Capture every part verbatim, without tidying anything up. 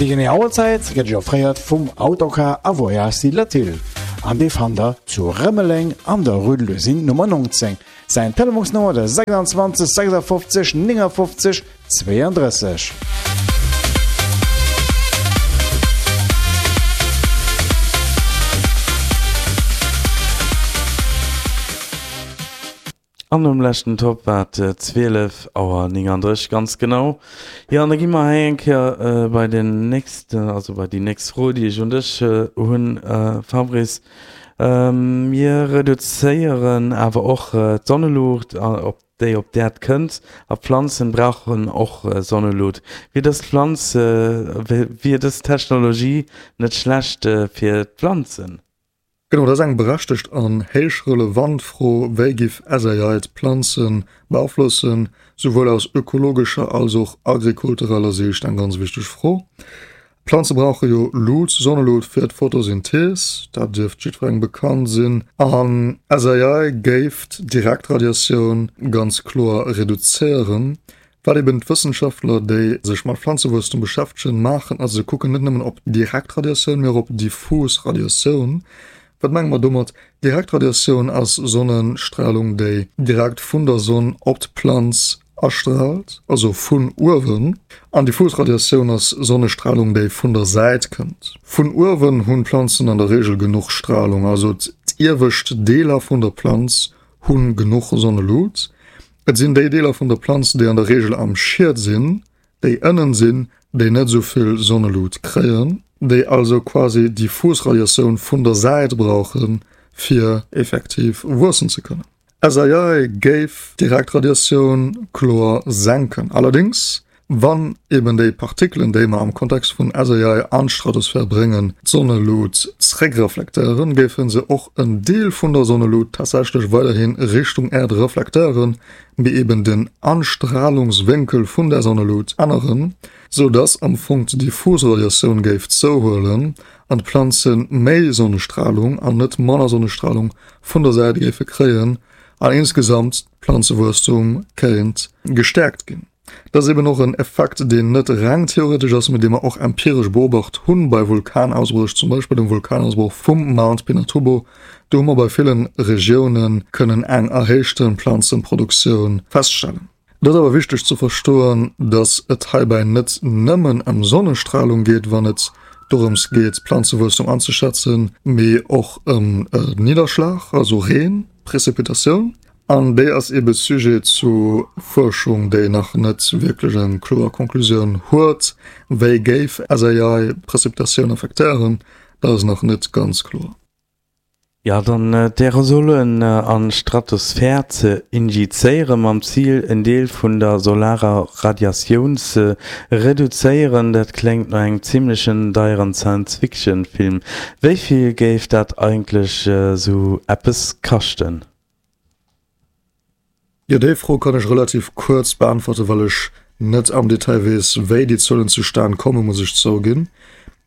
Déi genee Auerzäit gëtt Iech offréiert vum Autocar a Voyages Latil an dee fannt der zu Rëmeleng an der Rue de l'Usine Nummer neunzéng. Säin Telefonsnummer de sechsundzwanzeg sechsundfünfzig neunundfünfzig zweiunddrësseg. An nom leschten Top war et zwielef Auer néngandrësseg ganz genau. Jo, an da gi mer hei eng Kéier bei den nächsten, also bei déi nächst Fro, déi ech un dech hunn, Fabrice. Mir reduzéieren awer och d'Sonneluucht, op déi op d'Äerd kënnt, a Planzen brauchen och Sonneluut. Wier dës Pflanz, wier dës Technologie net schlecht fir d'Planzen? Genau, dat ass eng berechtegt an héich relevant Fro, Wéi giff S A I d'Planze beaflossen? Souwuel aus ökologescher als och agrikultureller Siicht eng ganz wichteg Fro. Planze brauche jo Lut, Sonnelut fir d'Photosynthees, dat dierft jiddwerengem bekannt sinn. An S A I géif d'Direktradiatioun ganz kloer reduzéieren. Wat eben d'Wëssenschaftler, déi sech mat Pflanzewuesstum beschäftegen, maachen, ass se kucken net nëmmen op Direktradiatioun, mee och op diffus Radiatioun. Wat mengen mer domat? Direktradiatioun ass Sonnenstrahlung, déi direkt vun der Sonn op d'Planz astrahlt, also vun uewen. An diffus Radiatioun ass Sonnestrahlung, déi vun der Säit kënnt. Vun uewen hunn Planzen an der Regel genuch Strahlung, also d'iewescht Deeler vun der Planz hunn genuch Sonnelut. Et sinn déi Deeler vun der Planz, déi an der Regel am Schied sinn, déi ënnen sinn, déi net so vill Sonnelut kréien, déi also quasi diffus Radiatioun vun der Säit brauchen, fir effektiv wuessen ze kënnen. S A I géif Direktradiatioun kloer senken. Allerdings, wann eben déi Partikelen, déi mer am Kontext vun S A I an d'Stratosphär bréngen, d'Sonnelut zréckreflektéieren, géifen se och en Deel vun der Sonnelut tatsächlech weiderhin Richtung Erd reflektéieren, mee eben den Anstrahlungswinkel vun der Sonnelut änneren, so dass am Fong diffus Radiatioun géif zouhuelen an d'Planzen méi Sonnestrahlung an net manner Sonnestrahlung vun der Säit géife kréien an insgesamt d'Planzewuesstum kéint gestärkt ginn. Das ist eben och en Effekt, deen net reng theoretisch ass, mit dem mer och empirisch beobacht hunn bei Vulkanausbrüch, zum Beispiel dem Vulkanausbruch vum Mount Pinatubo. Do hu mer bei villen Regiounen kënnen eng erhéichte Planzenproduktioun feststellen. Dat ass awer wichteg ze verstoen, dass et heibäi net nëmmen ëm Sonnestrahlung geet, wann et dorëms geet, Planzewuesstum anzuschätzen, mee och ëm Nidderschlag, also Reen, Präzipitatioun. An déi ass eben Sujet zu Forschung, déi nach net wirklich eng kloer Konklusioun huet, wéi géif S A I Präzipitatioun affektéieren, dat ass nach net ganz kloer. Ja, dann, äh, d'Aerosolen, äh, an Stratosphär ze injizéieren mam Ziel, en Deel vun der solarer Radiatioun ze reduzéieren, dat klingt no engem ziemlichen deieren Science-Fiction-Film. Wéi vill géif dat eigentlich, äh, so eppes kaschten? Ja, déi Fro kann ech relativ kurz beantworten, well ech net am Detail weess, wéi déi Zuelen zustane kommen, muss ech zouginn.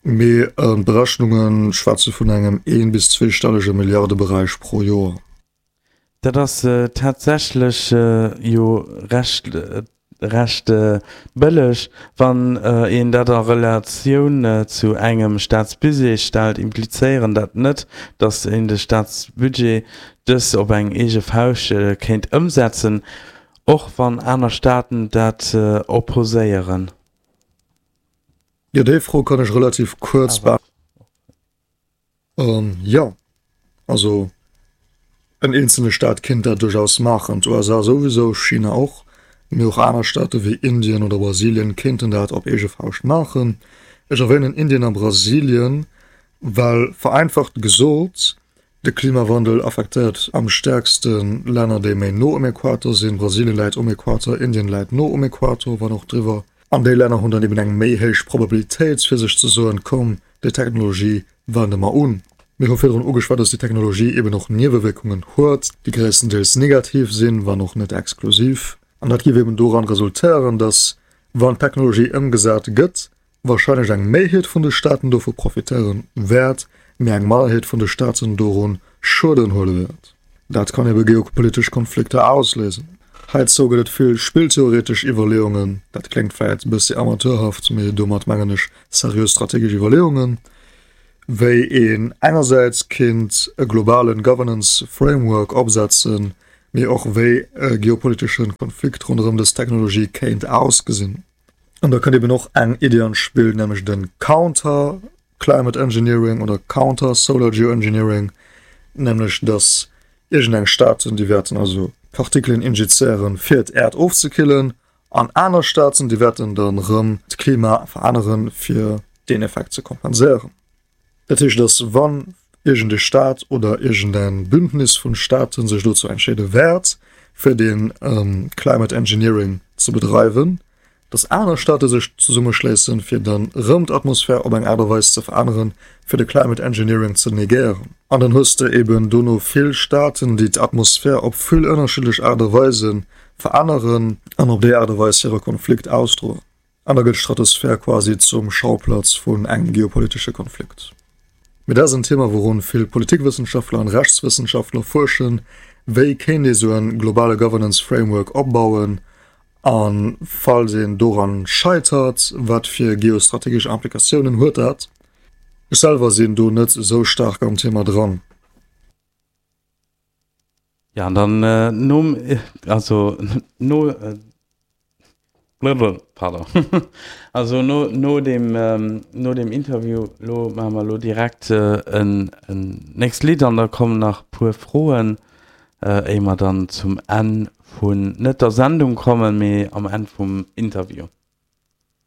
Mee, äh, Berechnungen schwätze vun engem een bis zweistellige Milliardebereich pro Joer. Dat ass, äh, tatsächlich, äh, jo recht, äh, recht, äh, bëlleg, wann, äh, een dat a Relatioun, äh, zu engem Staatsbudget stellt, implizéieren dat net, dass een de Staatsbudget dës op eng eege Fauscht, äh, kéint ëmsetzen, och wann aner Staaten dat, äh, opposéieren. Ja, déi Fro kann ech relativ kurz Awer. be-, Ähm, ja, also en einzelne Staat kinnt dat durchaus machen. D U S A sowieso, China och, mee och aner Staate wéi Indien oder Brasilien kinnten dat op eege Fauscht machen. Ech erwähnen Indien a Brasilien, well vereinfacht gesot, de Klimawandel affektéiert am stärksten Länner, déi méi no um Äquator sinn. Brasilien läit um Äquator, Indien läit no um Äquator, wann och driwwer. An déi Länner hunn dann eben eng méi héich Probabilitéit fir sech ze soen, komm, déi Technologie wende mer un. Mir hu virdrun ugeschwat, dass déi Technologie eben och Niewewirkungen huet, déi gréisstendeels negativ sinn, wann och net exklusiv. An dat géif eben doran resultéieren, dass, wann d'Technologie ëmgesat gëtt, wahrscheinlech eng Méiheet vun de Staaten dovu profitéieren wäert, mee eng Minderheet vun de Staaten dorun Schueden huele wäert. Dat kann eben geopolitesch Konflikter auslösen. Heizou gëtt et vill spilltheoretesch Iwwerleeungen, dat kléngt vläit e bëssi amateurhaft, mee domat mengen ech seriös strategesch Iwwerleeungen, wéi een engersäits kinnt e globale Governance Framework opsetzen, mee och wéi e geopolitesche Konflikt ronderëm dës Technologie kéint ausgesinn. An da kënnt eben och eng Iddi an d'Spill, nämlech de Counter Climate Engineering oder Counter Solar Geoengineering, nämlech dass iergendeng Staaten, déi wäerten also Partikelen injizéieren, fir d'Äerd ofzekillen, an aner Staaten, déi wäerten dann erëm d'Klima veränneren, fir deen Effekt ze kompenséieren. Dat heescht, dass wann iergend e Staat oder iergend en Bündnis vun Staaten sech dozou entscheede wäert, fir dee Climate Engineering ze bedreiwen, dass aner Staate sech zesummeschléissen, fir dann erëm d'Atmosphär op eng Aart a Weis ze veränneren, fir de Climate Engineering ze negéieren. An dann hues de eben dono vill Staaten, déi d'Atmosphär op vill ënnerschiddlech Aart a Weise veränneren an op déi Aart a Weis hire Konflikt ausdroen. An da gëtt d'Stratosphär quasi zum Schauplatz vun engem geopolitesche Konflikt. Mee dat ass en Thema, wourun vill Politikwëssenschaftler an Rechtswëssenschaftler fuerschen, Wéi kéint ee sou en globale Governance Framework opbauen? A falls een doran scheitert, wat fir geostrategesch Implikatiounen huet dat? Ech selwer sinn do net esou staark am Thema dran. Ja, an dann nom, also no, pardon, also no, no deem, no deem Interview lo maache mer lo direkt en, en nächst Lidd an da kommen nach puer Froen, éier mer dann zum Enn vun, net der Sendung kommen, mee am Enn vum Interview.